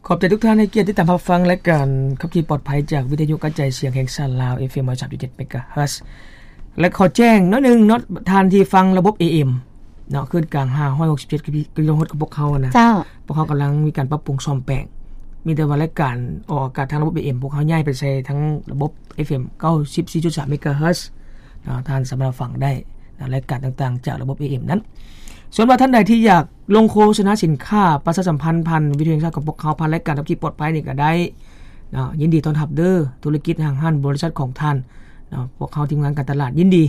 ຂອບໃຈທຸກທ່ານໃຫ້ກຽດຕິດຕາມຮັບຟັງລາຍການຂັບຂີ່ປອດໄພຈາກວິທະຍຸກະຈາຍສຽງແຫ່ງຊາດລາວ ເອຟເອັມຮ້ອຍສາມຈຸດເຈັດເມກາເຮີດ. ແລະ ຂໍແຈ້ງໜ້ອຍໜຶ່ງເນາະ, ທ່ານທີ່ຟັງລະບົບ ເອເອັມ ເນາະ, ຄື້ນກາງ ຫ້າຮ້ອຍຫົກສິບເຈັດ ກິໂລເຮີດຂອງພວກເຮົານະ, ເຈົ້າ. ພວກເຮົາກຳລັງມີການປັບປຸງສ້ອມແປງ. ມີແຕ່ວ່າລາຍການອອກອາກາດທາງລະບົບ ເອເອັມ ພວກເຮົາຍ້າຍໄປໃສ່ທາງລະບົບ ເອຟເອັມ ເກົ້າສິບສີ່ຈຸດສາມເມກາເຮີດເນາະ, ທ່ານສາມາດຟັງໄດ້ນະ, ລາຍການຕ່າງໆຈາກລະບົບ ເອເອັມ ນັ້ນ. ສ່ວນວ່າທ່ານໃດທີ່ຢາກລົງໂຄສະນາສິນຄ້າ ປະຊາສຳພັນຜ່ານວິທະຍຸແຫ່ງຊາດຂອງພວກເຮົາ ຜ່ານລາຍການຂັບຂີ່ປອດໄພນີ້ກໍໄດ້ເນາະ, ຍິນດີຕ້ອນຮັບເດີ້. ທຸລະກິດ, ຫ້າງຮ້ານ, ບໍລິສັດຂອງທ່ານເນາະ, ພວກເຮົາທີມງານການຕະຫຼາດຍິນດີ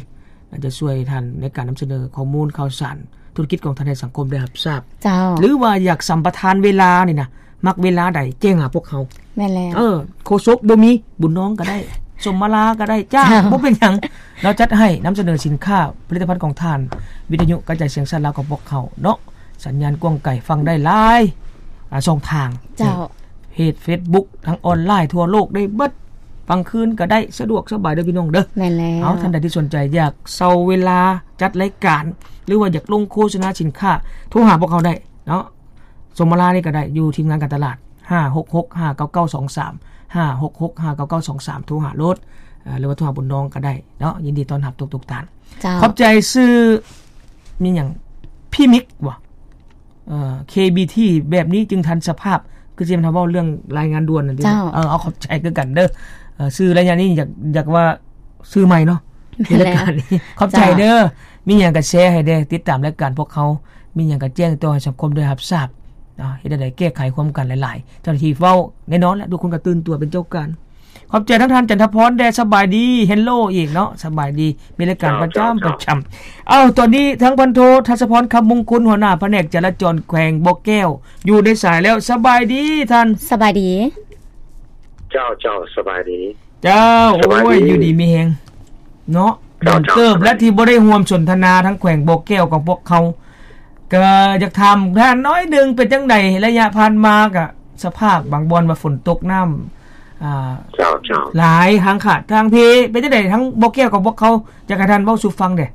ອາດຈະຊ່ວຍທ່ານໃນການນຳສະເໜີຂໍ້ມູນຂ່າວສານທຸລະກິດຂອງທ່ານໃຫ້ສັງຄົມໄດ້ຮັບຊາບ. ເຈົ້າ. ຫຼືວ່າຢາກສຳປະທານເວລານີ້ນະ, ມັກເວລາໃດແຈ້ງຫາພວກເຮົາ. ແມ່ນແລ້ວ. ເອີ, ໂຄສົກບໍ່ມີ, ບຸນນອງກໍໄດ້, ສົມມາລາກໍໄດ້, ຈ້າງ, ເຈົ້າ. ບໍ່ເປັນຫຍັງ. ເຮົາຈັດໃຫ້ນຳສະເໜີສິນຄ້າ, ຜະລິດຕະພັນຂອງທ່ານ, ວິທະຍຸກະຈາຍສຽງຊາດລາວຂອງພວກເຮົາເນາະ, ສັນຍານກວ້າງໄກຟັງໄດ້ຫຼາຍ, ອາ, ຊ່ອງທາງ. ເຈົ້າ. ເພຈເຟສບຸກ, ທາງອອນລາຍທົ່ວໂລກໄດ້ເບິດ. ກາງຄືນກໍໄດ້, ສະດວກສະບາຍເດີ້ພີ່ນ້ອງເດີ້. ແມ່ນແລ້ວ. ເອົາ, ທ່ານໃດທີ່ສົນໃຈຢາກເຊົ່າເວລາຈັດລາຍການ ຫຼືວ່າຢາກລົງໂຄສະນາສິນຄ້າ, ໂທຫາພວກເຮົາໄດ້ເນາະ. ສົມມາລານີ້ກໍໄດ້, ຢູ່ທີມງານການຕະຫຼາດ ຫ້າຫົກຫົກຫ້າເກົ້າເກົ້າສອງສາມ, ຫ້າຫົກຫົກຫ້າເກົ້າເກົ້າສອງສາມ, ໂທຫາໂລດ ຫຼືວ່າໂທຫາບຸນນອງກໍໄດ້ເນາະ, ຍິນດີຕ້ອນຮັບທຸກໆທ່ານ. ເຈົ້າ. ຂອບໃຈ. ຊື່ມີຫຍັງ? ພີ່ມິກບໍ? ເອີ ເຄບີທີ ແບບນີ້ຈຶ່ງທັນສະພາບ. ຄືຊິແມ່ນເຮົາເວົ້າເລື່ອງລາຍງານດ່ວນນັ້ນຕິ? ເຈົ້າ. ເອີ ເອົາ ຂອບໃຈຄືກັນເດີ້. ເອີ ຊື່ໄລຍະນີ້ຢາກ ຢາກວ່າຊື່ໃໝ່ເນາະ ໃນລາຍການນີ້. ຂອບໃຈເດີ້. ເຈົ້າ. ມີຫຍັງກໍແຊໃຫ້ແດ່, ຕິດຕາມລາຍການພວກເຮົາ, ມີຫຍັງກໍແຈ້ງຕໍ່ໃຫ້ສັງຄົມໄດ້ຮັບຊາບ. ເຮັດແນວໃດແກ້ໄຂຮ່ວມກັນຫຼາຍໆ. ເຈົ້າໜ້າທີ່ເວົ້າແນ່ນອນແຫຼະ, ທຸກຄົນກໍຕື່ນຕົວເປັນເຈົ້າການ. ຂອບໃຈທາງທ່ານຈັນທະພອນແດ່, ສະບາຍດີ. ເຮລໂລອີກເນາະ, ສະບາຍດີ. ມີລາຍການປະຈຳ ເຈົ້າ ເຈົ້າ ປະຈຳ. ເອົ້າ, ຕອນນີ້ທາງພັນໂທ ທັດສະພອນ ຄຳມຸງຄຸນ, ຫົວໜ້າພະແນກຈະລາຈອນແຂວງບໍ່ແກ້ວ ຢູ່ໃນສາຍແລ້ວ. ສະບາຍດີທ່ານ. ສະບາຍດີ. ເຈົ້າ ເຈົ້າ ສະບາຍດີ. ເຈົ້າ. ສະບາຍດີ. ໂອ້ຍ ຢູ່ດີມີແຮງເນາະ. ເຈົ້າ ດົນເຕີບແລ້ວທີ່ບໍ່ໄດ້ຮ່ວມສົນທະນາທາງແຂວງບໍ່ແກ້ວກັບພວກເຮົາ. ກໍຢາກຖາມທ່ານໜ້ອຍໜຶ່ງ, ເປັນຈັ່ງໃດໄລຍະຜ່ານມາ? ກະສະພາບບາງບ່ອນວ່າຝົນຕົກ, ນ້ຳ ອ່າ ເຈົ້າ ເຈົ້າ ຫຼາຍ, ທາງຂາດທາງເພ ເປັນຈັ່ງໃດທາງບໍ່ແກ້ວກັບພວກເຮົາ? ຢາກໃຫ້ທ່ານເວົ້າສູ່ຟັງແດ່.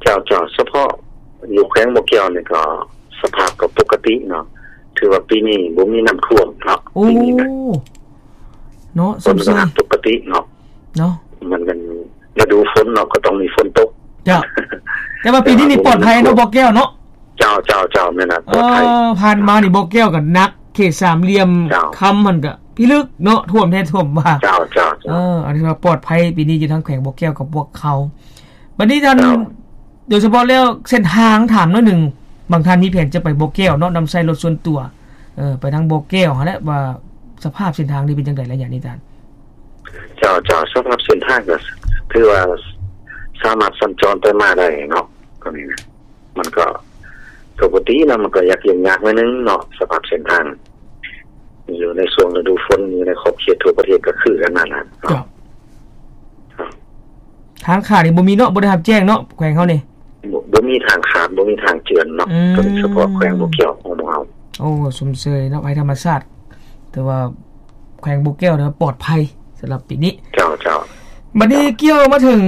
ເຈົ້າ ເຈົ້າ. ສະເພາະຢູ່ແຂວງບໍ່ແກ້ວນີ້ກໍສະພາບກໍປົກກະຕິເນາະ, ຖືວ່າປີນີ້ບໍ່ມີນ້ຳຖ້ວມເນາະ. ໂອ້ ປີນີ້ນະ ເນາະ. ຝົນກໍປົກກະຕິເນາະ. ເນາະ ມັນເປັນລະດູຝົນເນາະ, ກໍຕ້ອງມີຝົນຕົກ. ເຈົ້າ. ແຕ່ວ່າປີນີ້ນີ້ປອດໄພເນາະ ບໍ່ແກ້ວເນາະ. ເຈົ້າ ເຈົ້າ ເຈົ້າ. ແມ່ນລະ ປອດໄພ. ເອີ ຜ່ານມານີ້ບໍ່ແກ້ວກໍໜັກ, ເຂດສາມຫຼ່ຽມຄຳຫັ້ນກໍພິລຶກເນາະ, ຖ້ວມແທ້ຖ້ວມວ່າ. ເຈົ້າ ເຈົ້າ ເຈົ້າ. ເອີ ອັນນີ້ວ່າປອດໄພປີນີ້ຢູ່ທາງແຂວງບໍ່ແກ້ວກັບພວກເຮົາ. ບັດນີ້ທ່ານ ເຈົ້າ ໂດຍສະເພາະແລ້ວເສັ້ນທາງ, ຖາມໜ້ອຍໜຶ່ງ, ບາງທ່ານມີແຜນຈະໄປບໍ່ແກ້ວເນາະ, ນຳໃຊ້ລົດສ່ວນຕົວ ເອີ ໄປທາງບໍ່ແກ້ວຫັ້ນແຫຼະ, ວ່າສະພາບເສັ້ນທາງນີ້ເປັນຈັ່ງໃດໄລຍະນີ້ທ່ານ? ເຈົ້າ ເຈົ້າ. ສະພາບເສັ້ນທາງກໍຖືວ່າສາມາດສັນຈອນໄປມາໄດ້ເນາະ, ກໍນີ້ນະ ມັນກໍປົກກະຕິນະ, ມັນກໍຢາກຫຍຸ້ງຍາກໜ້ອຍໜຶ່ງເນາະ, ສະພາບເສັ້ນທາງ ຢູ່ໃນຊ່ວງລະດູຝົນ, ຢູ່ໃນຂອບເຂດທົ່ວປະເທດກໍຄືກັນນັ້ນແຫຼະເນາະ. ເຈົ້າ. ທາງຂາດນີ້ບໍ່ມີເນາະ, ບໍ່ໄດ້ຮັບແຈ້ງເນາະ ແຂວງເຮົານີ້? ບໍ່ ບໍ່ມີທາງຂາດ, ບໍ່ມີທາງເຈື່ອນເນາະ. ອືມ. ໂດຍສະເພາະແຂວງບໍ່ແກ້ວຂອງພວກເຮົາ. ໂອ້ ຊົມເຊີຍເນາະ, ໄພທຳມະຊາດ. ແຕ່ວ່າແຂວງບໍ່ແກ້ວນີ້ປອດໄພສຳລັບປີນີ້. ເຈົ້າ ເຈົ້າ. ບັດນີ້ ເຈົ້າ ກ່ຽວມາເຖິງ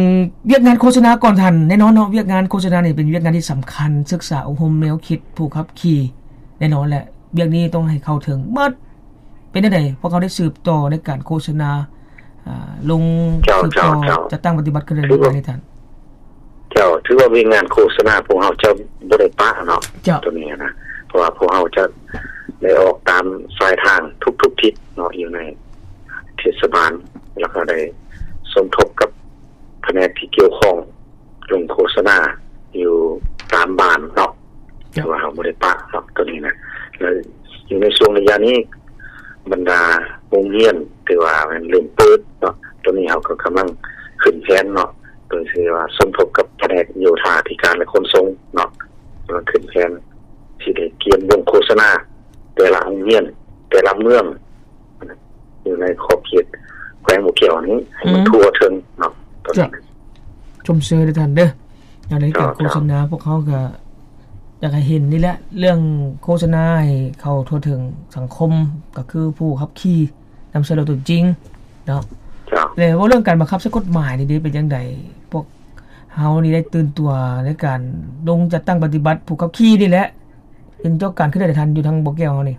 ວຽກງານໂຄສະນາກ່ອນທ່ານ, ແນ່ນອນເນາະ, ວຽກງານໂຄສະນານີ້ເປັນວຽກງານທີ່ສຳຄັນ, ສຶກສາອົບຮົມແນວຄິດຜູ້ຂັບຂີ່, ແນ່ນອນແຫຼະ, ວຽກນີ້ຕ້ອງໃຫ້ເຂົ້າເຖິງໝົດ. ເປັນຈັ່ງໃດ ພວກເຮົາໄດ້ສືບຕໍ່ໃນການໂຄສະນາ, ອາ, ລົງ ເຈົ້າ ສືບຕໍ່ ເຈົ້າ ເຈົ້າ ຈັດຕັ້ງປະຕິບັດຂຶ້ນເລື້ອຍໆນີ້ທ່ານ? ເຈົ້າ, ຖືວ່າວຽກງານໂຄສະນາພວກເຮົາຈະບໍ່ໄດ້ປະເນາະ. ເຈົ້າ. ໂຕນີ້ນະ, ເພາະວ່າພວກເຮົາຈະໄດ້ອອກຕາມສາຍທາງທຸກໆທິດເນາະ, ຢູ່ໃນເທດສະບານ, ແລ້ວກໍໄດ້ສົມທົບກັບພະແນກທີ່ກ່ຽວຂ້ອງ ລົງໂຄສະນາຢູ່ຕາມບ້ານເນາະ. ເຈົ້າ. ຖືວ່າເຮົາບໍ່ໄດ້ປະເນາະ ໂຕນີ້ນະ. ແລ້ວຢູ່ໃນຊ່ວງໄລຍະນີ້ ບັນດາໂຮງຮຽນຖືວ່າແມ່ນເລີ່ມເປີດເນາະ, ໂຕນີ້ເຮົາກໍກຳລັງຂຶ້ນແຜນເນາະ, ໂດຍທີ່ວ່າສົມທົບກັບພະແນກໂຍທາທິການ ແລະ ຂົນສົ່ງເນາະ, ກຳລັງຂຶ້ນແຜນທີ່ໄດ້ກຽມລົງໂຄສະນາແຕ່ລະໂຮງຮຽນ ແຕ່ລະເມືອງ ຢູ່ໃນຂອບເຂດແຂວງບໍ່ແກ້ວນີ້ ໃຫ້ມັນ ອືມ ທົ່ວເຖິງເນາະ. ເຈົ້າ. ຊົມເຊີຍເດີ້ທ່ານເດີ້. ໃນການ ເຈົ້າ ໂຄສະນາ ເຈົ້າ ພວກເຮົາກໍຢາກໃຫ້ເຫັນນີ້ແຫຼະ, ເລື່ອງໂຄສະນາໃຫ້ເຂົ້າທົ່ວເຖິງສັງຄົມ ກໍຄືຜູ້ຂັບຂີ່ນຳໃຊ້ລົດຕົວຈິງເນາະ. ເຈົ້າ. ແລະ ເວົ້າເລື່ອງການບັງຄັບໃຊ້ກົດໝາຍນີ້ເດ ເປັນຈັ່ງໃດ? ພວກເຮົານີ້ໄດ້ຕື່ນຕົວໃນການລົງຈັດຕັ້ງປະຕິບັດຜູ້ຂັບຂີ່ນີ້ແຫຼະ. ເຫັນເຈົ້າການເຄື່ອນໄຫວທ່ານຢູ່ທາງບໍ່ແກ້ວເຮົານີ້?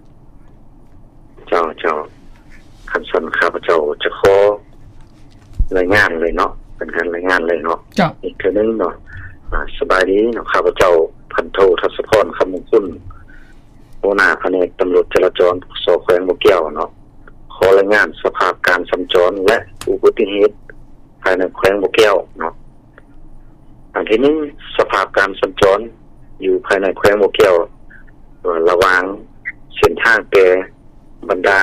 ລາຍງານເລີຍເນາະ ເປັນການລາຍງານເລີຍເນາະ. ເຈົ້າ. ອີກເທື່ອໜຶ່ງເນາະ ອາ ສະບາຍດີເນາະ ຂ້າພະເຈົ້າ ພັນໂທ ທັດສະພອນ ຄຳມົງຄຸນ ຫົວໜ້າພະແນກຕຳຫຼວດຈະລາຈອນ ປກສ ແຂວງບໍ່ແກ້ວເນາະ ຂໍລາຍງານສະພາບການສັນຈອນ ແລະ ອຸບັດຕິເຫດພາຍໃນແຂວງບໍ່ແກ້ວເນາະ. ອັນທີໜຶ່ງ ສະພາບການສັນຈອນຢູ່ພາຍໃນແຂວງບໍ່ແກ້ວ ເອີ ລະຫວ່າງເສັ້ນທາງແຕ່ບັນດາ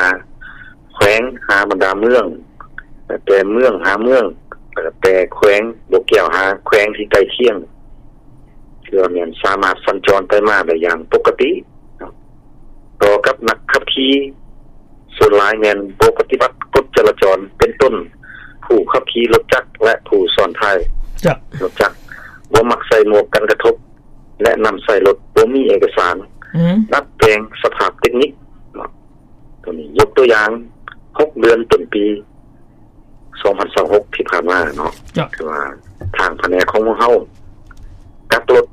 ແຂວງຫາບັນດາເມືອງ ແຕ່ເມືອງຫາເມືອງ ແຕ່ແຂວງບໍ່ແກ້ວຫາແຂວງທີ່ໃກ້ຄຽງ ຖືວ່າແມ່ນສາມາດສັນຈອນໄປມາໄດ້ຢ່າງປົກກະຕິ. ຕໍ່ກັບນັກຂັບຂີ່ ສ່ວນຫຼາຍແມ່ນບໍ່ປະຕິບັດກົດຈະລາຈອນ ເປັນຕົ້ນ ຜູ້ຂັບຂີ່ລົດຈັກ ແລະ ຜູ້ຊ້ອນທ້າຍ ເຈົ້າ ລົດຈັກ ບໍ່ມັກໃສ່ໝວກກັນກະທົບ ແລະ ນຳໃຊ້ລົດບໍ່ມີເອກະສານ ອືມ ດັດແປງສະພາບເຕັກນິກເນາະ. ຕົວນີ້ຍົກຕົວຢ່າງ ຫົກເດືອນຕົ້ນປີ ສອງພັນຊາວຫົກ ທີ່ຜ່ານມາເນາະ ເຈົ້າ ຄືວ່າທາງພະແນກຂອງພວກເຮົາ ກັກລົດ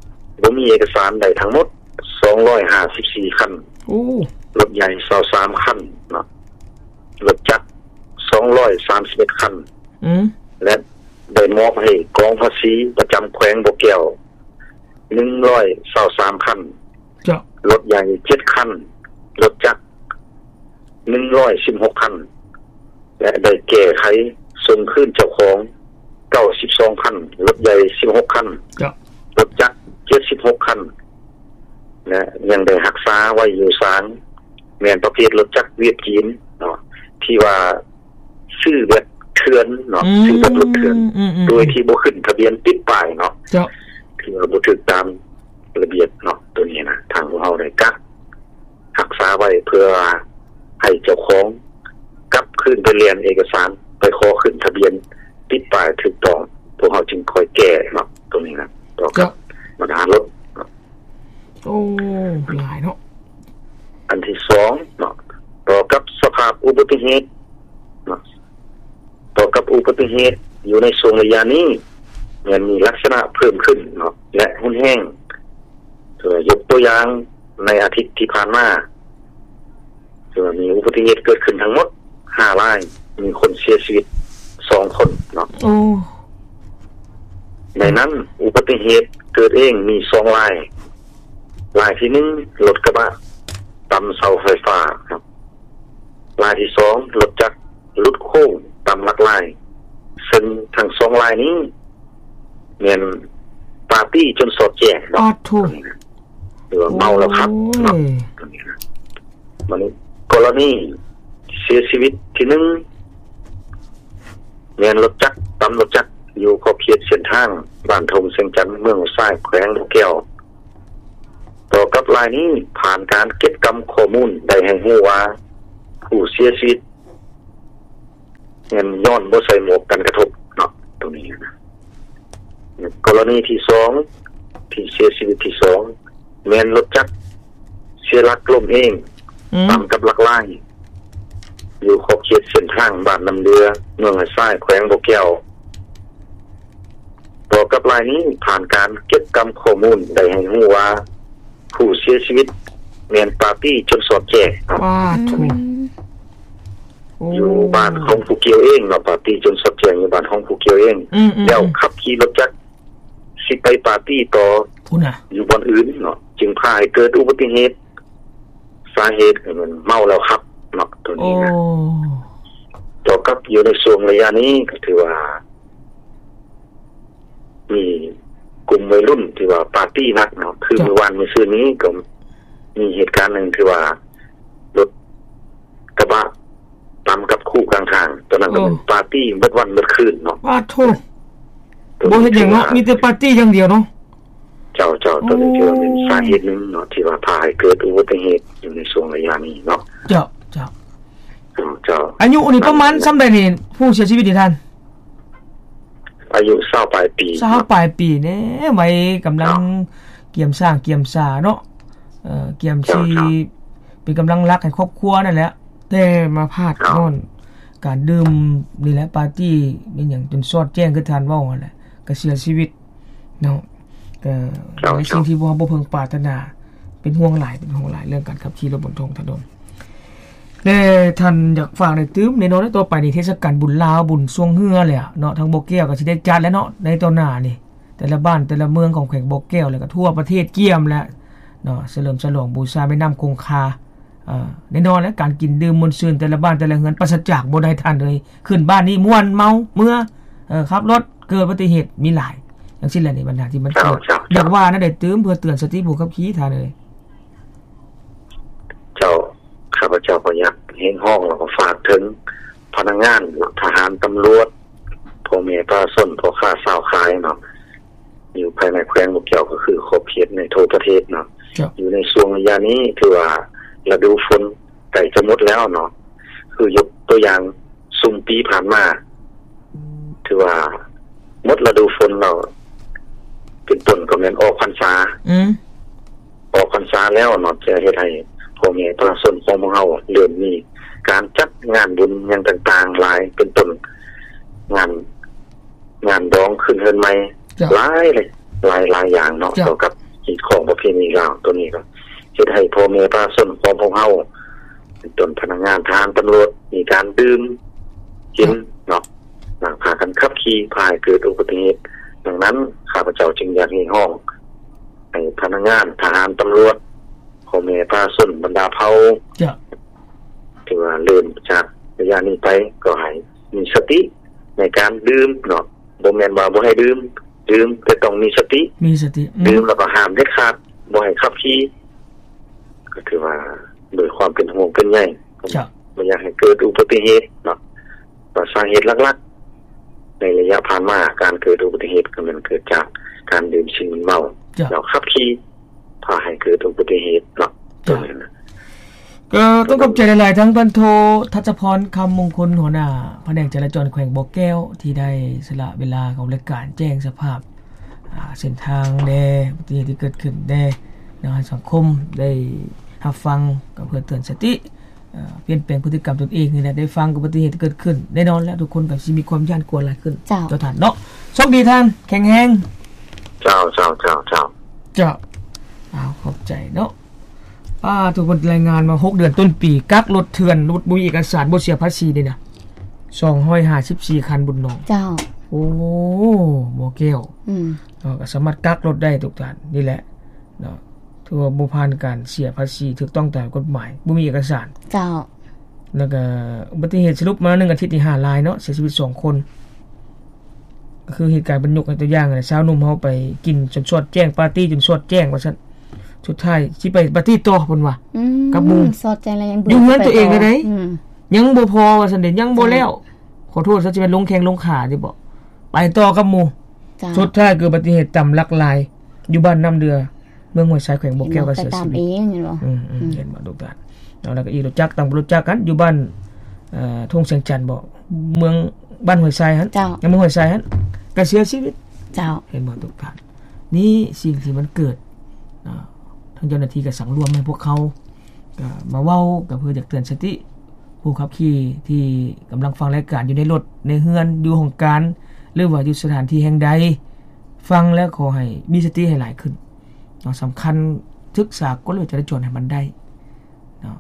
ບໍ່ມີເອກະສານໄດ້ທັງໝົດ ສອງຮ້ອຍຫ້າສິບສີ່ຄັນ ໂອ້ ລົດໃຫຍ່ ຊາວສາມຄັນເນາະ ລົດຈັກ ສອງຮ້ອຍສາມສິບເອັດຄັນ ອືມ ແລະ ໄດ້ມອບໃຫ້ກອງພາສີປະຈຳແຂວງບໍ່ແກ້ວ ໜຶ່ງຮ້ອຍຊາວສາມຄັນ ເຈົ້າ ລົດໃຫຍ່ ເຈັດຄັນ ລົດຈັກ ໜຶ່ງຮ້ອຍສິບຫົກຄັນ ແລະ ໄດ້ແກ້ໄຂສົ່ງຄືນເຈົ້າຂອງ ເກົ້າສິບສອງຄັນ ລົດໃຫຍ່ ສິບຫົກຄັນ ເຈົ້າ ລົດຈັກ ເຈັດສິບຫົກຄັນ ແລະ ຍັງໄດ້ຮັກສາໄວ້ຢູ່ສາງ ແມ່ນປະເພດລົດຈັກຫວຽດຈີນເນາະ ທີ່ວ່າ ຊື້ແບບເຖື່ອນເນາະ ອືມ ຊື້ແບບລົດເຖື່ອນ ອືມໆໆ ໂດຍທີ່ບໍ່ຂຶ້ນທະບຽນຕິດປ້າຍເນາະ ເຈົ້າ ຖືວ່າບໍ່ຖືກຕາມລະບຽບເນາະ. ໂຕນີ້ນະ ທາງພວກເຮົາໄດ້ກະຮັກສາໄວ້ ເພື່ອໃຫ້ເຈົ້າຂອງກັບຄືນໄປແລ່ນເອກະສານ ໄປຂໍຂຶ້ນທະບຽນຕິດປ້າຍຖືກຕ້ອງ ພວກເຮົາຈຶ່ງຄ່ອຍແກ້ເນາະ ໂຕນີ້ນະ ຕໍ່ກັບບັນຫາລົດເນາະ. ໂອ້ ຫຼາຍເນາະ. ອັນທີສອງເນາະ ຕໍ່ກັບສະພາບອຸບັດຕິເຫດເນາະ ຕໍ່ກັບອຸບັດຕິເຫດຢູ່ໃນຊ່ວງໄລຍະນີ້ ແມ່ນມີລັກສະນະເພີ່ມຂຶ້ນເນາະ ແລະ ຮຸນແຮງ. ເອີ ຍົກຕົວຢ່າງໃນອາທິດທີ່ຜ່ານມາ ຖືວ່າມີອຸບັດຕິເຫດເກີດຂຶ້ນທັງໝົດຫ້າລາຍ ມີຄົນເສຍຊີວິດສອງຄົນເນາະ. ໂອ້ ໃນນັ້ນອຸບັດຕິເຫດເກີດເອງມີສອງລາຍ, ລາຍທີໜຶ່ງ ລົດກະບະຕຳເສົາໄຟຟ້າເນາະ, ລາຍທີສອງ ລົດຈັກຫຼຸດໂຄ້ງຕຳຫຼັກລາຍ, ເຊິ່ງທັງສອງລາຍນີ້ແມ່ນປາຕີ້ຈົນສອດແຈ້ງເນາະ. ປາດໂທ້ ຫຼືວ່າເມົາແລ້ວຂັບເນາະ. ໂອ້ຍ ບັດນີ້ ກໍລະນີເສຍຊີວິດທີໜຶ່ງ ແມ່ນລົດຈັກ ຕຳລົດຈັກ ຢູ່ຂອບເຂດເສັ້ນທາງບ້ານທົ່ງແສງຈັນ ເມືອງຫ້ວຍຊາຍ ແຂວງບໍ່ແກ້ວ. ຕໍ່ກັບລາຍນີ້ ຜ່ານການເກັບກຳຂໍ້ມູນໄດ້ໃຫ້ຮູ້ວ່າ ຜູ້ເສຍຊີວິດ ແມ່ນຍ້ອນບໍ່ໃສ່ໝວກກັນກະທົບເນາະ ຕົງນີ້ນະ. ກໍລະນີທີສອງ ທີ່ເສຍຊີວິດທີສອງ ແມ່ນລົດຈັກເສຍຫຼັກລົ້ມເອງ ອືມ ຕຳກັບຫຼັກລາຍ ຢູ່ຂອບເຂດເສັ້ນທາງບ້ານນ້ຳເດືອ ເມືອງຫ້ວຍຊາຍ ແຂວງບໍ່ແກ້ວ. ຕໍ່ກັບລາຍນີ້ ຜ່ານການເກັບກຳຂໍ້ມູນໄດ້ໃຫ້ຮູ້ວ່າ ຜູ້ເສຍຊີວິດແມ່ນປາຕີ້ຈົນສອດແຈ້ງເນາະ. ປາດໂທ້ ໂອ້ ຢູ່ບ້ານຂອງຜູ້ກ່ຽວເອງເນາະ, ປາຕີ້ຈົນສອດແຈ້ງຢູ່ບ້ານຂອງຜູ້ກ່ຽວເອງ. ອືມໆໆ ແລ້ວຂັບຂີ່ລົດຈັກຊິໄປປາຕີ້ຕໍ່ ພຸ້ນນະ ຢູ່ບ່ອນອື່ນເນາະ, ຈຶ່ງພາໃຫ້ເກີດອຸບັດຕິເຫດ. ສາເຫດກໍແມ່ນເມົາແລ້ວຂັບເນາະ ຕົວນີ້ນະ. ໂອ້ ຕໍ່ກັບຢູ່ໃນຊ່ວງໄລຍະນີ້ກໍຖືວ່າ ມີກຸ່ມໄວລຸ້ນທີ່ວ່າປາຕີ້ໜັກເນາະ, ຄື ເຈົ້າ ມື້ວານມື້ຊືນນີ້ກໍມີເຫດການໜຶ່ງທີ່ວ່າລົດກະບະຕຳກັບຄູກາງທາງ, ຕອນນັ້ນກໍແມ່ນ ໂອ້ ປາຕີ້ເບິດວັນເບິດຄືນເນາະ. ປາດໂທ້ ບໍ່ເຮັດຫຍັງເນາະ ມີແຕ່ປາຕີ້ຢ່າງດຽວເນາະ. ເຈົ້າ ເຈົ້າ ໂອ້ ຕົວນີ້ຖືວ່າເປັນສາເຫດໜຶ່ງເນາະ ທີ່ວ່າພາໃຫ້ເກີດອຸບັດຕິເຫດຢູ່ໃນຊ່ວງໄລຍະນີ້ເນາະ. ເຈົ້າ ເຈົ້າ ເຈົ້າ ເຈົ້າ. ອາຍຸນີ້ປະມານສ່ຳໃດນີ້ ຜູ້ເສຍຊີວິດນີ້ທ່ານ? ອາຍຸຊາວປາຍປີ ຊາວປາຍປີແດ່ ໄວກຳລັງ ເຈົ້າ ກຽມສ້າງກຽມສາເນາະ, ເອີ ກຽມຊິ ເຈົ້າ ເປັນກຳລັງຫຼັກໃຫ້ຄອບຄົວນັ້ນແຫຼະ, ແຕ່ມາພາດ ເຈົ້າ ຍ້ອນການດື່ມນີ້ແຫຼະ ປາຕີ້ແມ່ນຫຍັງ ຈົນສອດແຈ້ງ ຄືທ່ານເວົ້າຫັ້ນແຫຼະ ກໍເສຍຊີວິດເນາະ. ກໍ ເຈົ້າ ເປັນສິ່ງທີ່ພວກເຮົາບໍ່ເພິ່ງປາດຖະໜາ, ເປັນຫ່ວງຫຼາຍ ເປັນຫ່ວງຫຼາຍເລື່ອງການຂັບຂີ່ລົດບົນທ້ອງຖະໜົນ. ແລະ ທ່ານຢາກຝາກໄດ້ຕື່ມ ແນ່ນອນແລ້ວ ຕໍ່ໄປນີ້ເທດສະການບຸນລາວ ບຸນຊ່ວງເຮືອແຫຼະເນາະ ທາງບໍ່ແກ້ວກໍຊິໄດ້ຈັດແລ້ວເນາະ ໃນຕໍ່ໜ້ານີ້ ແຕ່ລະບ້ານແຕ່ລະເມືອງຂອງແຂວງບໍ່ແກ້ວ ແລະ ກໍທົ່ວປະເທດກຽມແຫຼະເນາະ ສະເຫຼີມສະຫຼອງບູຊາແມ່ນ້ຳຄົງຄາ. ເອີ ແນ່ນອນແຫຼະ ການກິນດື່ມມ່ວນຊື່ນ ແຕ່ລະບ້ານແຕ່ລະເຮືອນປາສະຈາກບໍ່ໄດ້ທ່ານເອີຍ ຂຶ້ນບ້ານນີ້ມ່ວນເມົາເມືອ ເອີ ຂັບລົດເກີດອຸບັດຕິເຫດມີຫຼາຍ ຈັ່ງຊີ້ແຫຼະນີ້ບັນຫາທີ່ມັນເກີດ. ຢາກວ່າແນວໃດຕື່ມເພື່ອເຕືອນສະຕິຜູ້ຂັບຂີ່ທ່ານເອີຍ? ເຈົ້າ ຂ້າພະເຈົ້າກໍຢາກຮຽກຮ້ອງ ແລ້ວກໍຝາກເຖິງພະນັກງານ ທະຫານ ຕຳຫຼວດ ພໍ່ແມ່ປະຊາຊົນ ພໍ່ຄ້າຊາວຂາຍເນາະ ຢູ່ພາຍໃນແຂວງບໍ່ແກ້ວ ກໍຄືຂອບເຂດໃນທົ່ວປະເທດເນາະ ຢູ່ໃນຊ່ວງໄລຍະນີ້ ຖືວ່າລະດູຝົນໃກ້ຈະໝົດແລ້ວເນາະ ຄືຍົກຕົວຢ່າງຊຸມປີຜ່ານມາ ຖືວ່າໝົດລະດູຝົນແລ້ວ ເປັນຕົ້ນກໍແມ່ນອອກພັນສາ ອືມ ອອກພັນສາແລ້ວເນາະ ຈະເຮັດໃຫ້ພໍ່ແມ່ປະຊາຊົນຂອງພວກເຮົາເລີ່ມມີການຈັດງານບຸນຫຍັງຕ່າງໆຫຼາຍ ເປັນຕົ້ນງານ ງານດອງຂຶ້ນເຮືອນໃໝ່ ຫຼາຍ ຫຼາຍ ຫຼາຍຢ່າງເນາະ ກ່ຽວກັບຮີດຄອງປະເພນີລາວ ໂຕນີ້ກໍເຮັດໃຫ້ພໍ່ແມ່ປະຊາຊົນຂອງພວກເຮົາ ເປັນຕົ້ນພະນັກງານ ທະຫານ ຕຳຫຼວດ ມີການດື່ມກິນເນາະ ແລ້ວພາກັນຂັບຂີ່ ພາໃຫ້ເກີດອຸບັດຕິເຫດ. ດັ່ງນັ້ນ ຂ້າພະເຈົ້າຈຶ່ງຢາກຮຽກຮ້ອງໃຫ້ພະນັກງານ ທະຫານ ຕຳຫຼວດ ພໍ່ແມ່ປະຊາຊົນ ບັນດາເຜົ່າ ຖືວ່າເລີ່ມຈາກໄລຍະນີ້ໄປ ກໍໃຫ້ມີສະຕິໃນການດື່ມເນາະ ບໍ່ແມ່ນວ່າບໍ່ໃຫ້ດື່ມ ດື່ມ ແຕ່ຕ້ອງມີສະຕິ ມີສະຕິ ອືມ ດື່ມແລ້ວກໍຫ້າມເດັດຂາດ ບໍ່ໃຫ້ຂັບຂີ່ ກໍຖືວ່າດ້ວຍຄວາມເປັນຫ່ວງເປັນໃຍ ເຈົ້າ ບໍ່ຢາກໃຫ້ເກີດອຸບັດຕິເຫດເນາະ ວ່າສາເຫດຫຼັກໆ ໃນໄລຍະຜ່ານມາ ການເກີດອຸບັດຕິເຫດ ກໍແມ່ນເກີດຈາກການດື່ມສິ່ງມຶນເມົາ ເຈົ້າ ແລ້ວຂັບຂີ່ ພາໃຫ້ເກີດອຸບັດຕິເຫດເນາະ ເຈົ້າ ກໍຕ້ອງຂອບໃຈຫຼາຍໆ ທັງພັນໂທ ທັດສະພອນ ຄຳມົງຄຸນ ຫົວໜ້າພະແນກຈະລາຈອນແຂວງບໍ່ແກ້ວ ທີ່ໄດ້ສະຫຼະເວລາເຂົ້າລາຍການແຈ້ງສະພາບ ອ່າ ເສັ້ນທາງແດ່ ອຸບັດຕິເຫດທີ່ເກີດຂຶ້ນແດ່ເນາະ ໃຫ້ສັງຄົມໄດ້ຮັບຟັງ ກໍເພື່ອເຕືອນສະຕິ ເອີ ປ່ຽນແປງພຶດຕິກຳຕົນເອງນີ້ແຫຼະ ໄດ້ຟັງອຸບັດຕິເຫດທີ່ເກີດຂຶ້ນ ແນ່ນອນແລ້ວ ທຸກຄົນກໍຊິມີຄວາມຢ້ານກົວຫຼາຍຂຶ້ນ ເຈົ້າ ເຈົ້າທ່ານເນາະ ໂຊກດີທ່ານ ແຂງແຮງ ເຈົ້າ ເຈົ້າ ເຈົ້າ ເຈົ້າ ເຈົ້າ ອ້າວ ຂອບໃຈເນາະ. ປ້າ ທຸກຄົນລາຍງານວ່າ ຫົກເດືອນຕົ້ນປີ ກັກລົດເຖື່ອນ ລົດບໍ່ມີເອກະສານ ບໍ່ເສຍພາສີນີ້ນະ ສອງຮ້ອຍຫ້າສິບສີ່ຄັນ ບຸນໜອງ ເຈົ້າ ໂອ້ ບໍ່ແກ້ວ ອືມ ເນາະ ກໍສາມາດກັກລົດໄດ້ທຸກທ່ານ ນີ້ແຫຼະເນາະ ຖືວ່າບໍ່ຜ່ານການເສຍພາສີຖືກຕ້ອງຕາມກົດໝາຍ ບໍ່ມີເອກະສານ ເຈົ້າ ແລ້ວກໍອຸບັດຕິເຫດສະຫຼຸບມາໜຶ່ງອາທິດນີ້ຫ້າລາຍເນາະ ເສຍຊີວິດສອງຄົນ ກໍຄືເຫດການເພິ່ນຍົກໃຫ້ຕົວຢ່າງຫັ້ນແຫຼະ ຊາວໜຸ່ມເຮົາໄປກິນຈົນສອດແຈ້ງ ປາຕີ້ຈົນສອດແຈ້ງວ່າຊັ້ນ ສຸດທ້າຍຊິໄປປາຕີ້ຕໍ່ເພິ່ນວ່າ ອືມ ກັບໝູ່ ສອດແຈ້ງແລ້ວຍັງບືດ ຢູ່ເຮືອນຕົວເອງໄດ້ ອືມ ຍັງບໍ່ພໍວ່າຊັ້ນເດ ຍັງບໍ່ແລ້ວ ເຈົ້າ ຂໍໂທດຊະ ຊິແມ່ນລົງແຂ້ງລົງຂາຕິບໍ ໄປຕໍ່ກັບໝູ່ ເຈົ້າ ສຸດທ້າຍເກີດອຸບັດຕິເຫດຕຳຫຼັກລາຍ ຢູ່ບ້ານນ້ຳເດືອ ເມືອງຫ້ວຍຊາຍ ແຂວງບໍ່ແກ້ວ ກໍເສຍຊີວິດ ອືມ ເຫັນບໍ່ ອືມ ເຫັນບໍ່ ລູກຫຼານເນາະ ແລ້ວກໍອີກລົດຈັກ ຕຳລົດຈັກຫັ້ນ ຢູ່ບ້ານ ເອີ ທົ່ງແສງຈັນບໍ ເມືອງ ບ້ານຫ້ວຍຊາຍຫັ້ນ ເຈົ້າ ເມືອງຫ້ວຍຊາຍຫັ້ນ ກໍເສຍຊີວິດ ເຈົ້າ ເຫັນບໍ່ ທຸກທ່ານ ນີ້ສິ່ງທີ່ມັນເກີດ ເນາະ ທາງເຈົ້າໜ້າທີ່ກໍສັງລວມໃຫ້ພວກເຮົາ ກໍມາເວົ້າ ກໍເພື່ອຢາກເຕືອນສະຕິຜູ້ຂັບຂີ່ທີ່ກຳລັງຟັງລາຍການຢູ່ໃນລົດ ໃນເຮືອນ ຢູ່ຫ້ອງການ ຫຼືວ່າຢູ່ສະຖານທີ່ແຫ່ງໃດ ຟັງແລ້ວຂໍໃຫ້ມີສະຕິໃຫ້ຫຼາຍຂຶ້ນເນາະ ສຳຄັນ ສຶກສາກົດລະບຽບຈະລາຈອນໃຫ້ມັນໄດ້ເນາະ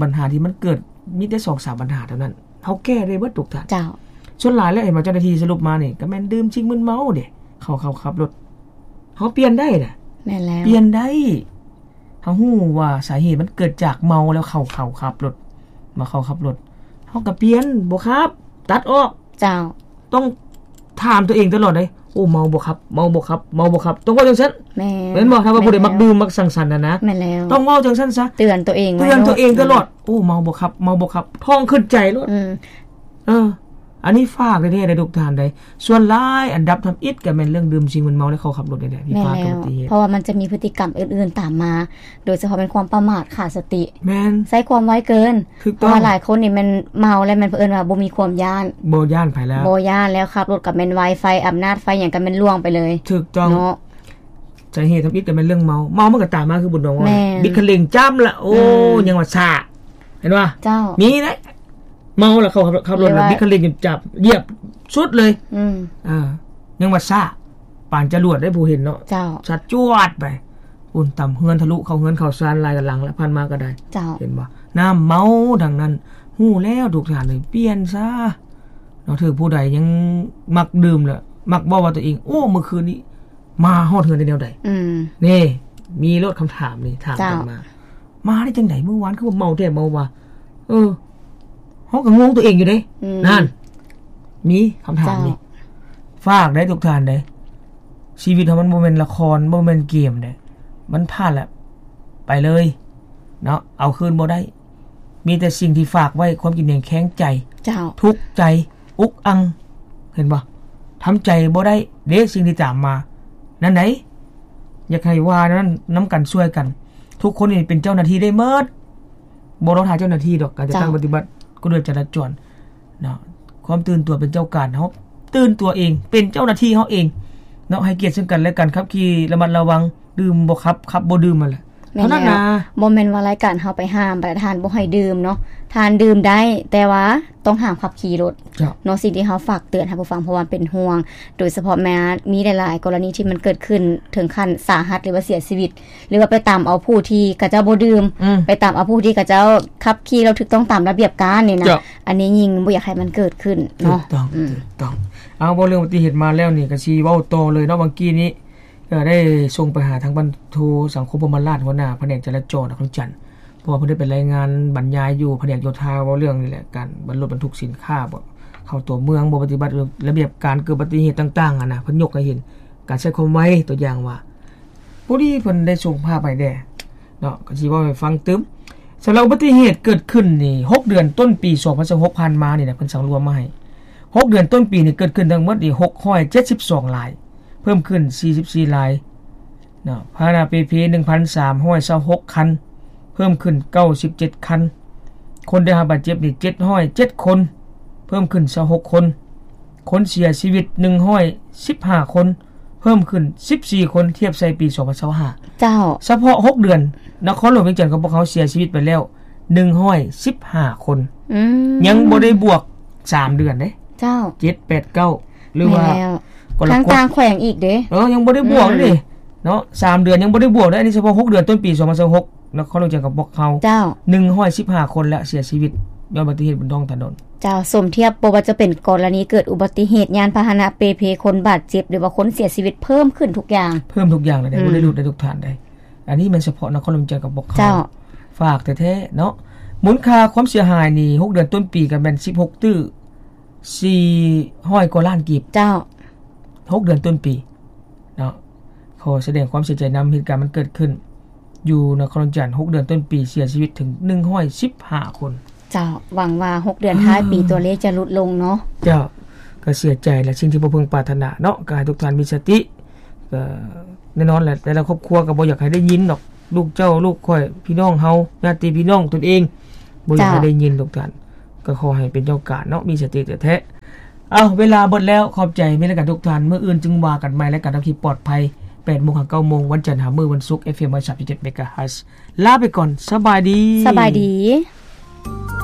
ບັນຫາທີ່ມັນເກີດມີແຕ່ສອງສາມບັນຫາເທົ່ານັ້ນ ເຮົາແກ້ໄດ້ເບິດທຸກທ່ານ ເຈົ້າ ສ່ວນຫຼາຍແລ້ວເຫັນວ່າເຈົ້າໜ້າທີ່ສະຫຼຸບມານີ້ ກໍແມ່ນດື່ມສິ່ງມຶນເມົາເດ້ ເຂົາ ເຂົາຂັບລົດ ເຮົາປ່ຽນໄດ້ນະ ແມ່ນແລ້ວ ປ່ຽນໄດ້ ເຮົາຮູ້ວ່າສາເຫດມັນເກີດຈາກເມົາແລ້ວເຂົາ ເຂົາຂັບລົດ ວ່າເຂົາຂັບລົດ ເຮົາກໍປ່ຽນ ບໍ່ຂັບ ຕັດອອກ ເຈົ້າ ຕ້ອງຖາມຕົວເອງຕະຫຼອດເດ້ ໂອ້ ເມົາບໍ່ຂັບ ເມົາບໍ່ຂັບ ເມົາບໍ່ຂັບ ຕ້ອງເວົ້າຈັ່ງຊັ້ນ ແມ່ນ ແມ່ນບໍ່ ຖ້າວ່າຜູ້ໃດມັກດື່ມ ມັກສັງສັນຫັ້ນນະ ແມ່ນແລ້ວ ຕ້ອງເວົ້າຈັ່ງຊັ້ນຊະ ເຕືອນຕົວເອງ ເຕືອນຕົວເອງຕະຫຼອດ ໂອ້ ເມົາບໍ່ຂັບ ເມົາບໍ່ຂັບ ທ້ອງຂຶ້ນໃຈໂລດ ອືມ ເອີ ອັນນີ້ຝາກແທ້ໆເດີທຸກທ່ານເດີ ສ່ວນຫຼາຍອັນດັບທຳອິດກໍແມ່ນເລື່ອງດື່ມສິ່ງມຶນເມົາ ແລະ ເຂົາຂັບລົດນີ້ແຫຼະທີ່ພາເກີດອຸບັດຕິເຫດ ເພາະວ່າມັນຈະມີພຶດຕິກຳອື່ນໆຕາມມາ ໂດຍສະເພາະແມ່ນຄວາມປະໝາດຂາດສະຕິ ແມ່ນ ໃຊ້ຄວາມໄວເກີນ ຖືກຕ້ອງ ເພາະວ່າຫຼາຍຄົນນີ້ແມ່ນເມົາແລ້ວແມ່ນເພິ່ນວ່າບໍ່ມີຄວາມຢ້ານ ບໍ່ຢ້ານໃຜແລ້ວ ບໍ່ຢ້ານແລ້ວ ຂັບລົດກໍແມ່ນໄວ ໄຟອຳນາດໄຟຫຍັງກໍແມ່ນລ່ວງໄປເລີຍ ຖືກຕ້ອງເນາະ ສາເຫດທຳອິດກໍແມ່ນເລື່ອງເມົາ ເມົາມັນກໍຕາມມາຄືບຸນດອງວ່າ ແມ່ນ ບິດຄັນເລັ່ງຈ້ຳລະ ໂອ້ ອືມ ຍັງວ່າຊ້າ ເຫັນບໍ່ ເຈົ້າ ມີເດ້ ເມົາລະເຂົາຂັບ ຂັບລົດ ຫຼືວ່າບິດຄັນເລັ່ງຈັບ ຢຽບສຸດເລີຍ ອືມ ເອີ ຍັງວ່າຊ້າ ປານຈະຫຼວດໄດ້ຜູ້ເຫັນເນາະ ເຈົ້າ ຊັດຈວດໄປ ຝຸ່ນຕຳເຮືອນ ທະລຸເຂົ້າເຮືອນເຂົ້າຊານຫຼາຍກະຫຼັງລະ ຜ່ານມາກະໄດ້ ເຈົ້າ ເຫັນບໍ່? ນ້ຳເມົາທັງນັ້ນ ຮູ້ແລ້ວທຸກທ່ານເອີຍ ປ່ຽນຊະເນາະ. ຖືກຜູ້ໃດຍັງມັກດື່ມລະ ມັກເວົ້າວ່າຕົວເອງ ໂອ້ ມື້ຄືນນີ້ມາຮອດເຮືອນໄດ້ແນວໃດ? ອືມ ນີ້ ມີໂລດຄຳຖາມນີ້ ຖາມກັນມາ ເຈົ້າ ມາໄດ້ຈັ່ງໃດ? ມື້ວານຄືວ່າເມົາແທ້ເມົາວ່າ ເອີ ເຮົາກໍງົງຕົວເອງຢູ່ເດ້ ອືມ ນັ້ນ ມີຄຳຖາມນີ້ ເຈົ້າ ຝາກໄດ້ທຸກທ່ານເດ້ ຊີວິດເຮົາມັນບໍ່ແມ່ນລະຄອນ ບໍ່ແມ່ນເກມເດ້ ມັນຜ່ານແລ້ວ ໄປເລີຍເນາະ ເອົາຄືນບໍ່ໄດ້ ມີແຕ່ສິ່ງທີ່ຝາກໄວ້ ຄວາມກິນແໜງແຄງໃຈ ເຈົ້າ ທຸກໃຈ ອຸກອັ່ງ ເຫັນບໍ່? ທຳໃຈບໍ່ໄດ້ເດ້ ສິ່ງທີ່ຕາມມາ ນັ້ນໃດ ຢາກໃຫ້ວ່ານັ້ນ ນຳກັນຊ່ວຍກັນ ທຸກຄົນນີ້ເປັນເຈົ້າໜ້າທີ່ໄດ້ໝົດ ບໍ່ລໍຖ້າເຈົ້າໜ້າທີ່ດອກ ການຈັດຕັ້ງ ເຈົ້າ ປະຕິບັດກົດລະບຽບຈະລາຈອນເນາະ ຄວາມຕື່ນຕົວເປັນເຈົ້າການ ເຮົາຕື່ນຕົວເອງ ເປັນເຈົ້າໜ້າທີ່ເຮົາເອງເນາະ ໃຫ້ກຽດເຊິ່ງກັນແລະກັນ ຂັບຂີ່ລະມັດລະວັງ ດື່ມບໍ່ຂັບ ຂັບບໍ່ດື່ມຫັ້ນແຫຼະ ແມ່ນແລ້ວ ເທົ່ານັ້ນນະ ບໍ່ແມ່ນວ່າລາຍການເຮົາໄປຫ້າມ ປະທານບໍ່ໃຫ້ດື່ມເນາະ ທ່ານດື່ມໄດ້ ແຕ່ວ່າຕ້ອງຫ້າມຂັບຂີ່ລົດ ເຈົ້າ ເນາະ ສິ່ງທີ່ເຮົາຝາກເຕືອນໃຫ້ຜູ້ຟັງ ເພາະວ່າເປັນຫ່ວງ ໂດຍສະເພາະແມ່ນມີຫຼາຍໆກໍລະນີທີ່ມັນເກີດຂຶ້ນເຖິງຂັ້ນສາຫັດ ຫຼືວ່າເສຍຊີວິດ ຫຼືວ່າໄປຕຳເອົາຜູ້ທີ່ເຂົາເຈົ້າບໍ່ດື່ມ ອືມ ໄປຕຳເອົາຜູ້ທີ່ເຂົາເຈົ້າຂັບຂີ່ແລ້ວຖືກຕ້ອງຕາມລະບຽບການນີ້ນະ ເຈົ້າ ອັນນີ້ຍິ່ງບໍ່ຢາກໃຫ້ມັນເກີດຂຶ້ນເນາະ ຖືກຕ້ອງ ອືມ ຖືກຕ້ອງ ເອົາ ເວົ້າເລື່ອງອຸບັດຕິເຫດມາແລ້ວນີ້ ກະຊິເວົ້າຕໍ່ເລີຍເນາະ ເມື່ອກີ້ນີ້ ເອີ ໄດ້ສົ່ງໄປຫາທາງພັນໂທ ສັງຄົມ ພົມມະລາດ ຫົວໜ້າພະແນກຈະລາຈອນນະຄອນຫຼວງວຽງຈັນ ເພາະວ່າເພິ່ນໄດ້ໄປລາຍງານບັນຍາຍຢູ່ພະແນກໂຍທາ ເວົ້າເລື່ອງນີ້ແຫຼະ ການບັນລົດບັນທຸກສິນຄ້າ ບໍ່ເຂົ້າຕົວເມືອງ ບໍ່ປະຕິບັດລະບຽບການ ເກີດອຸບັດຕິເຫດຕ່າງໆຫັ້ນນະ ເພິ່ນຍົກໃຫ້ເຫັນ ການໃຊ້ຄວາມໄວ ຕົວຢ່າງວ່າ ພໍດີເພິ່ນໄດ້ສົ່ງພາບໃຫ້ແດ່ເນາະ ກໍຊິເວົ້າໃຫ້ຟັງຕື່ມ. ສຳລັບອຸບັດຕິເຫດເກີດຂຶ້ນນີ້ ຫົກເດືອນຕົ້ນປີສອງພັນຊາວຫົກຜ່ານມານີ້ນະ ເພິ່ນສັງລວມມາໃຫ້ ຫົກເດືອນຕົ້ນປີນີ້ເກີດຂຶ້ນທັງໝົດນີ້ ຫົກຮ້ອຍເຈັດສິບສອງລາຍ ເພີ່ມຂຶ້ນສີ່ສິບສີ່ລາຍເນາະ ພາຫະນະເປເພ ໜຶ່ງພັນສາມຮ້ອຍຊາວຫົກຄັນ ເພີ່ມຂຶ້ນເກົ້າສິບເຈັດຄັນ ຄົນໄດ້ຮັບບາດເຈັບນີ້ເຈັດຮ້ອຍເຈັດຄົນ ເພີ່ມຂຶ້ນຊາວຫົກຄົນ ຄົນເສຍຊີວິດໜຶ່ງຮ້ອຍສິບຫ້າຄົນ ເພີ່ມຂຶ້ນສິບສີ່ຄົນ ທຽບໃສ່ປີສອງພັນຊາວຫ້າ ເຈົ້າ ສະເພາະຫົກເດືອນ ນະຄອນຫຼວງວຽງຈັນຂອງພວກເຮົາເສຍຊີວິດໄປແລ້ວໜຶ່ງຮ້ອຍສິບຫ້າຄົນ ອືມ ຍັງບໍ່ໄດ້ບວກສາມເດືອນເດ້ ເຈົ້າ ເຈັດ ແປດ ເກົ້າ ຫຼືວ່າ ແມ່ນແລ້ວ ກໍລະກົດ ທາງຕ່າງແຂວງອີກເດ້ ເອີ ຍັງບໍ່ໄດ້ບວກເດ້ ອືມ ເນາະ ສາມເດືອນຍັງບໍ່ໄດ້ບວກເດ້ ອັນນີ້ສະເພາະຫົກເດືອນຕົ້ນປີສອງພັນຊາວຫົກ ນະຄອນຫຼວງວຽງຈັນຂອງພວກເຮົາ ເຈົ້າ ໜຶ່ງຮ້ອຍສິບຫ້າຄົນ ແລະ ເສຍຊີວິດຍ້ອນອຸບັດຕິເຫດບົນທ້ອງຖະໜົນ ເຈົ້າ ສົມທຽບບໍ່ວ່າຈະເປັນກໍລະນີເກີດອຸບັດຕິເຫດຍານພາຫະນະເປເພ ຄົນບາດເຈັບ ຫຼືວ່າຄົນເສຍຊີວິດເພີ່ມຂຶ້ນທຸກຢ່າງ ເພີ່ມທຸກຢ່າງເລີຍເດ້ ອືມ ບໍ່ໄດ້ຫຼຸດເດ້ທຸກທ່ານເດ້ ອັນນີ້ແມ່ນສະເພາະນະຄອນຫຼວງວຽງຈັນຂອງພວກເຮົາ ເຈົ້າ ຝາກແທ້ໆເນາະ ມູນຄ່າຄວາມເສຍຫາຍນີ້ ຫົກເດືອນຕົ້ນປີກໍແມ່ນສິບຫົກຕື້ສີ່ຮ້ອຍກວ່າລ້ານກີບ ເຈົ້າ ຫົກເດືອນຕົ້ນປີເນາະ ຂໍສະແດງຄວາມເສຍໃຈນຳ ເຫດການມັນເກີດຂຶ້ນຢູ່ນະຄອນຫຼວງວຽງຈັນ ຫົກເດືອນຕົ້ນປີເສຍຊີວິດເຖິງໜຶ່ງຮ້ອຍສິບຫ້າຄົນ ເຈົ້າ ຫວັງວ່າຫົກເດືອນທ້າຍປີ ເອີ ຕົວເລກຈະຫຼຸດລົງເນາະ ເຈົ້າ ກໍເສຍໃຈແຫຼະ ສິ່ງທີ່ບໍ່ເພິ່ງປາດຖະໜາເນາະ ກໍໃຫ້ທຸກທ່ານມີສະຕິ ກໍແນ່ນອນແຫຼະ ແຕ່ລະຄອບຄົວກໍບໍ່ຢາກໃຫ້ໄດ້ຍິນດອກ ລູກເຈົ້າ ລູກຂ້ອຍ ພີ່ນ້ອງເຮົາ ຍາດຕິພີ່ນ້ອງຕົນເອງ ບໍ່ຢາກໃຫ້ ເຈົ້າ ໄດ້ຍິນທຸກທ່ານ ກໍຂໍໃຫ້ເປັນເຈົ້າການເນາະ ມີສະຕິແທ້ໆ ເອົ້າ ເວລາເບິດແລ້ວ ຂອບໃຈ ມີແລະກັນທຸກທ່ານ ມື້ອື່ນຈຶ່ງວ່າກັນໃໝ່ ລາຍການຂັບຂີ່ປອດໄພ ແປດໂມງຫາເກົ້າໂມງ ວັນຈັນຫາມື້ວັນສຸກ ເອັຟເອັມ ຮ້ອຍສາມຈຸດເຈັດ ເມກາເຮີດ ລາໄປກ່ອນ ສະບາຍດີ ສະບາຍດີ.